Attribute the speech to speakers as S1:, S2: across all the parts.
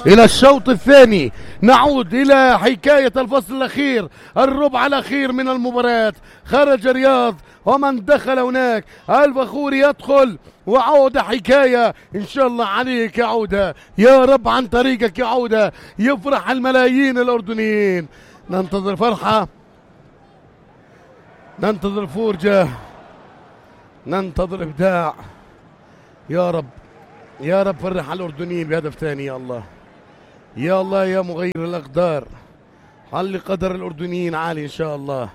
S1: إلى الشوط الثاني، نعود إلى حكاية الفصل الأخير، الربع الأخير من المباراة. خرج رياض ومن دخل هناك الفخوري يدخل، وعودة حكاية إن شاء الله عليك يا عودة، يا رب عن طريقك يا عودة يفرح الملايين الأردنيين. ننتظر فرحة، ننتظر فرجة، ننتظر إبداع. يا رب يا رب فرح الأردنيين بهدف ثاني يا الله، يا الله يا مغير الأقدار، خلي قدر الأردنيين عالي إن شاء الله.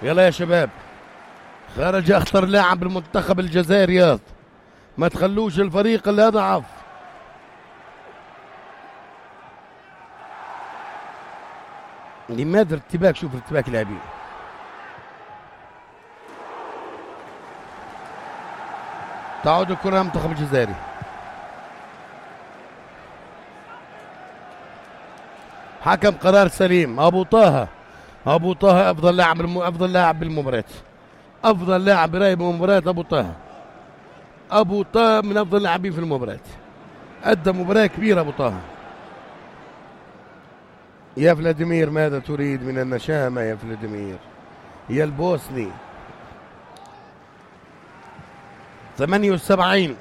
S1: يلا يا شباب، خرج أخطر لاعب بالمنتخب الجزائري رياض، ما تخلوش الفريق اللي أضعف. لماذا ارتباك؟ شوف ارتباك اللاعبين. تعود الكرة للمنتخب الجزائري. حكم قرار سليم. أبو طه أفضل لاعب بالمباراة، أفضل لاعب برايب المباراة. أبو طه من أفضل اللاعبين في المباراة، أدى مباراة كبيرة أبو طه. يا فلاديمير ماذا تريد من النشامة يا فلاديمير يا البوسني؟ 78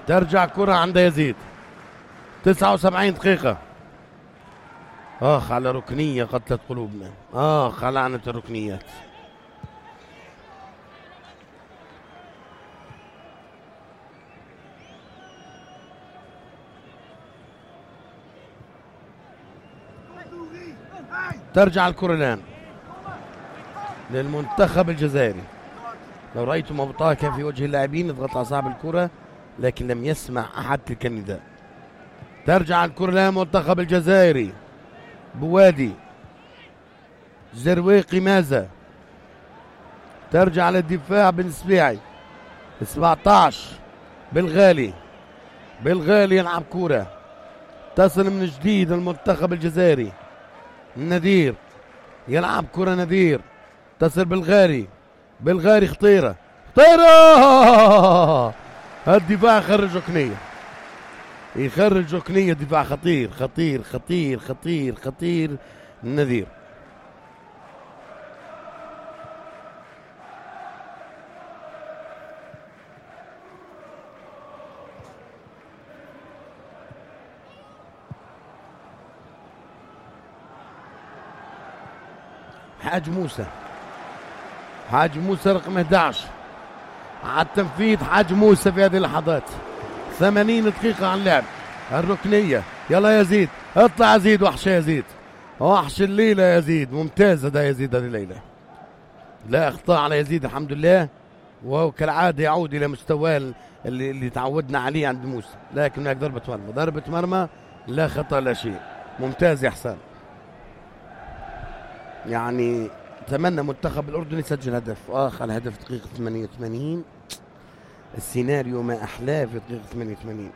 S1: ترجع كرة عند يزيد. 79 دقيقة. آخ على ركنية قتلت قلوبنا، آخ على لعنة الركنيات. ترجع الكرة الآن للمنتخب الجزائري. لو رأيتم أبو طه كان في وجه اللاعبين يضغط على صاحب الكرة، لكن لم يسمع أحد تلك النداء. ترجع الكرة للمنتخب الجزائري. بوادي زرويقي ماذا؟ ترجع للدفاع بن سبيعي. 17 بالغالي يلعب كرة تصل من جديد المنتخب الجزائري. النذير يلعب كرة، نذير تصل بالغاري خطيرة الدفاع يخرج ركنية دفاع خطير النذير. حاج موسى رقم 11 على التنفيذ. حاج موسى في هذه اللحظات. 80 دقيقة عن اللعب. الركنية، يلا يزيد، اطلع يزيد، وحش يزيد، وحش الليلة يزيد. ممتاز هذا يزيد هذه الليلة، لا اخطاء على يزيد الحمد لله، وهو كالعادة يعود إلى مستواه اللي تعودنا عليه عند موسى. لكن هناك ضربة مرمى لا خطأ لا شيء. ممتاز يا حسان. يعني اتمنى منتخب الأردن يسجل هدف آخر. الهدف دقيقة 88. السيناريو ما أحلاه في دقيقة 88.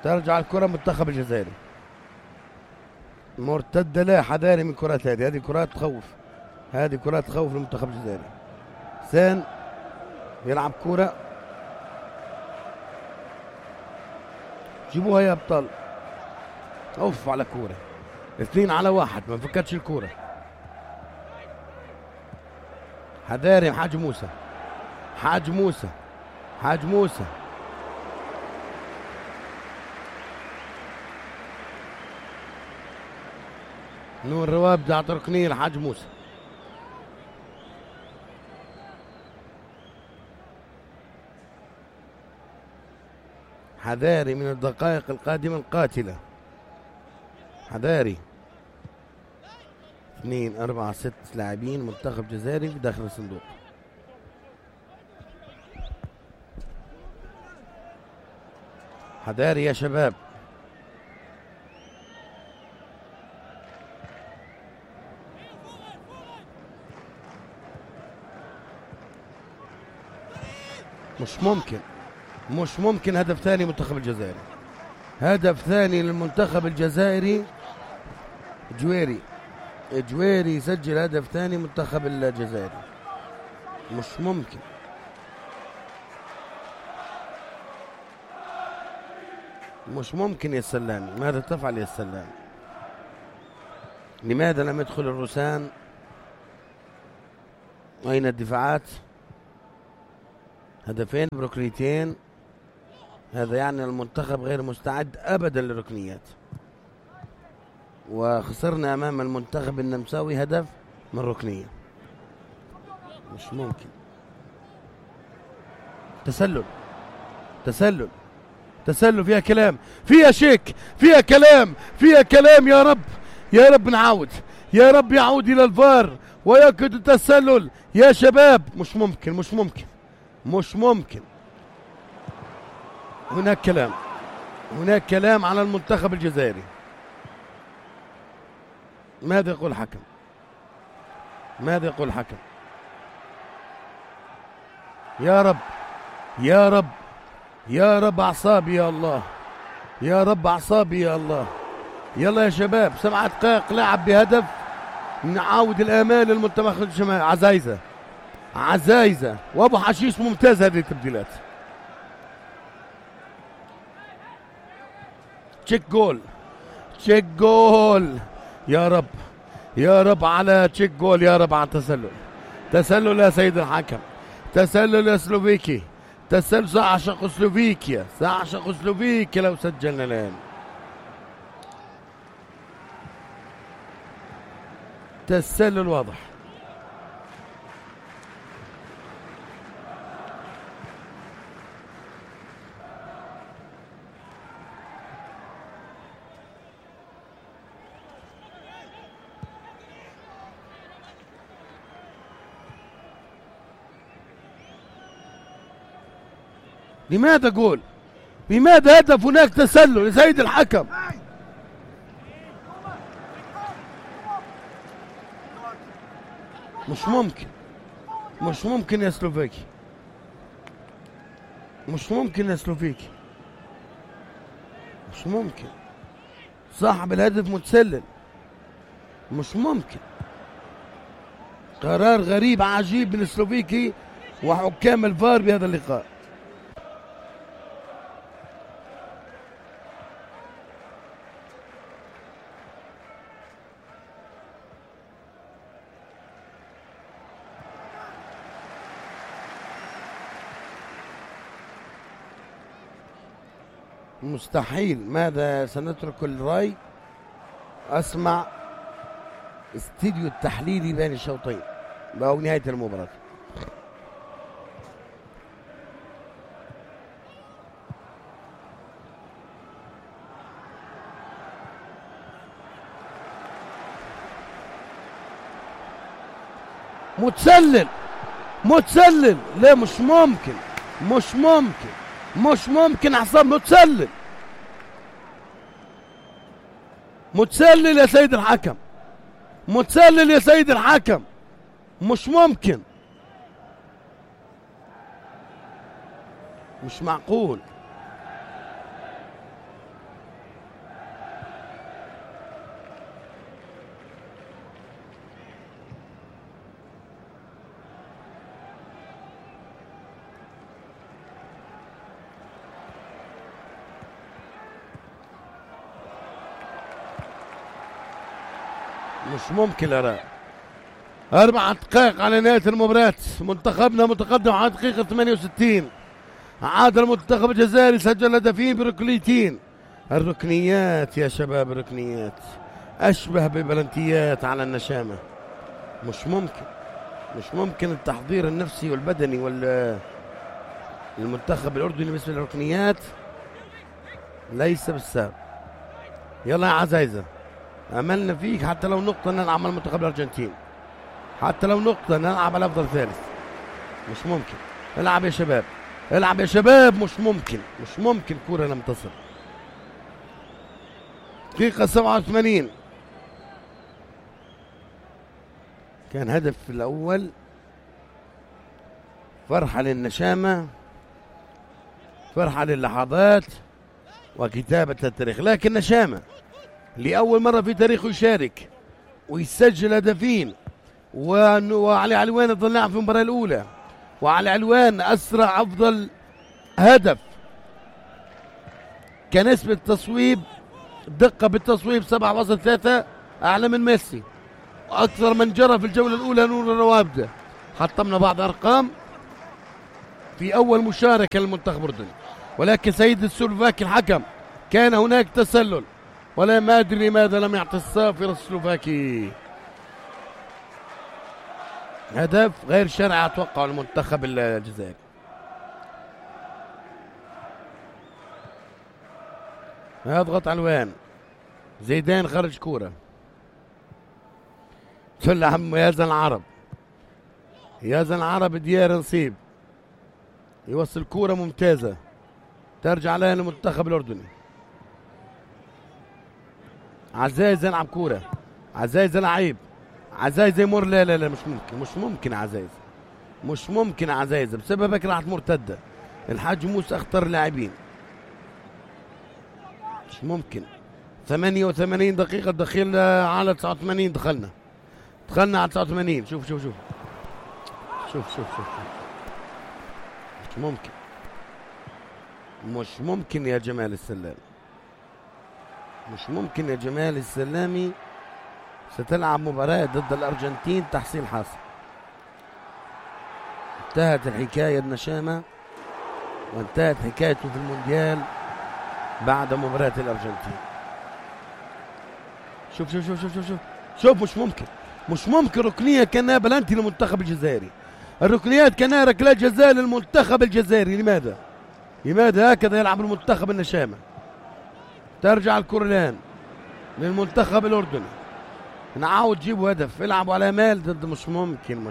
S1: ترجع الكرة منتخب الجزائري. مرتدة، لا حذاري من كرات هذه كرات تخوف، هذه كرات تخوف المنتخب الجزائري. حسين يلعب كرة، جيبوها يا ابطال. اوف على كرة 2-1، ما فكتش الكرة. حذاري حاج موسى نور رواب دعت ركنية لحاج موسى. حذاري من الدقائق القادمة القاتلة. حذاري. 2 4 6 لاعبين منتخب جزائري في داخل الصندوق. حذاري يا شباب. مش ممكن هدف ثاني منتخب الجزائر. هدف ثاني للمنتخب الجزائري. جويري يسجل هدف ثاني منتخب الجزائري. مش ممكن يا سلامي. ماذا تفعل يا سلامي؟ لماذا لم يدخل الروسان؟ أين الدفاعات؟ هدفين بركنيتين. هذا يعني المنتخب غير مستعد أبدا للركنيات، وخسرنا أمام المنتخب النمساوي هدف من ركنية. مش ممكن. تسلل فيها كلام، فيها شيك، فيها كلام. يا رب نعاود، يا رب يعود إلى الفار ويأكد التسلل يا شباب. مش ممكن. هناك كلام على المنتخب الجزائري. ماذا يقول الحكم؟ يا رب أعصابي يا الله، يلا يا شباب. 7 دقائق لعب بهدف. نعاود الآمال للمنتخب الشمالي. عزايزة وأبو حشيش ممتاز هذه التبديلات. تشيك جول يا رب على تشيك جول، يا رب على تسلل يا سيد الحكم، تسلل يا سلوفيكي، سأعشق سلوفيكيا لو سجلنا الآن. تسلل واضح. لماذا جول؟ لماذا هدف؟ هناك تسلل يا سيد الحكم. مش ممكن يا سلوفيكي. مش ممكن. صاحب الهدف متسلل. مش ممكن. قرار غريب عجيب من السلوفيكي وحكام الفار بهذا اللقاء. مستحيل. ماذا سنترك الرأي؟ أسمع استديو التحليلي بين الشوطين أو نهاية المباراة. متسلل. لا مش ممكن عصام. متسلل يا سيد الحكم. مش ممكن. مش معقول. الآراء. 4 دقائق على نهاية المباراة. منتخبنا متقدم على دقيقة 68. عاد المنتخب الجزائري، سجل هدفين بركنيتين. الركنيات يا شباب، الركنيات أشبه ببلنتيات على النشامة. مش ممكن التحضير النفسي والبدني المنتخب الأردني بالنسبة للركنيات ليس بالسهل. يلا يا عزايزة، أملنا فيك. حتى لو نقطة نلعب مع المنتخب الأرجنتين، حتى لو نقطة نلعب على أفضل ثالث. مش ممكن. العب يا شباب. مش ممكن كورة لم تصل. دقيقة 87 كان هدف الأول. فرحة للنشامة فرحة للحظات وكتابة التاريخ. لكن نشامة لأول مرة في تاريخه يشارك ويسجل هدفين، وعلي علوان ظل لاعب في المباراة الأولى، وعلي علوان أسرع أفضل هدف كنسبة تصويب دقة بالتصويب 7.3 أعلى من ميسي، وأكثر من جرى في الجولة الأولى نور الروابدة. حطمنا بعض أرقام في أول مشاركة للمنتخب الأردني، ولكن سيد السلوفاكي الحكم كان هناك تسلل، ولا ما أدري لماذا لم يعطي الصافر السلوفاكي هدف غير شرعي أتوقع المنتخب الجزائري. يضغط علوان، زيدان خرج كورة، تلعب يازن العرب، يازن العرب ديار نصيب يوصل كورة ممتازة ترجع لها للمنتخب الأردني. عزايز يلعب كورة، عزايز لعيب، عزايز يمر، لا لا لا مش ممكن عزايز، مش ممكن عزايز بسببك راحت مرتدة. الحاج موسى اختار لاعبين، مش ممكن. 88 دقيقة دخلنا على 89، دخلنا على 89. شوف مش ممكن يا جمال السلام، مش ممكن يا جمال السلامي. ستلعب مباراة ضد الأرجنتين تحصيل حاصل. انتهت الحكاية النشامة وانتهت حكايته في المونديال بعد مباراة الأرجنتين. شوف مش ممكن ركنية كانها بلانتي للمنتخب الجزائري. الركنيات كانها ركلات جزاء للمنتخب الجزائري. لماذا هكذا يلعب المنتخب النشامة؟ ترجع الكرة الآن للمنتخب الأردني، نعاود جيبوا هدف، يلعبوا على مال ضد. مش ممكن.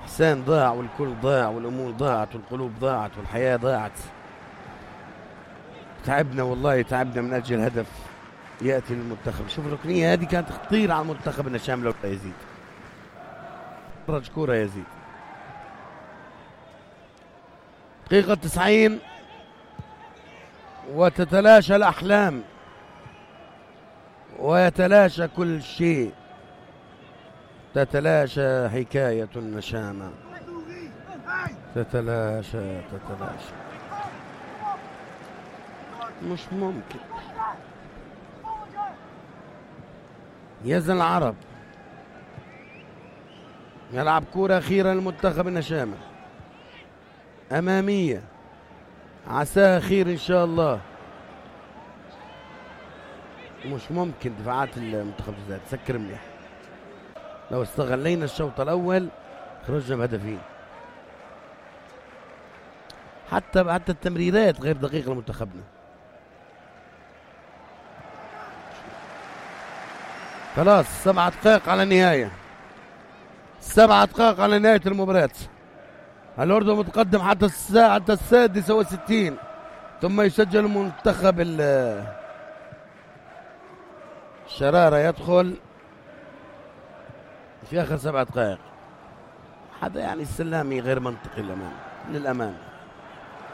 S1: حسان ضاع والكل ضاع والأمور ضاعت والقلوب ضاعت والحياة ضاعت. تعبنا والله، تعبنا من أجل هدف يأتي للمنتخب. شوف الركنية هذه كانت خطيرة على المنتخب النشام لو يزيد. خرج كورة يزيد. دقيقة 90 وتتلاشى الأحلام ويتلاشى كل شيء، تتلاشى حكاية النشامة، تتلاشى. مش ممكن. يزن العرب يلعب كرة أخيرة للمنتخب النشامة أمامية، عساها خير إن شاء الله. مش ممكن دفاعات المنتخب الجزائري تسكر مليح. لو استغلينا الشوط الأول خرجنا بهدفين. حتى التمريرات غير دقيقة لمنتخبنا. خلاص 7 دقائق على النهاية، 7 دقائق على نهاية المباراة. الأردن متقدم حتى الساعة 66، ثم يسجل المنتخب الشرارة يدخل في آخر 7 دقائق. هذا يعني السلامي غير منطقي للأمانة.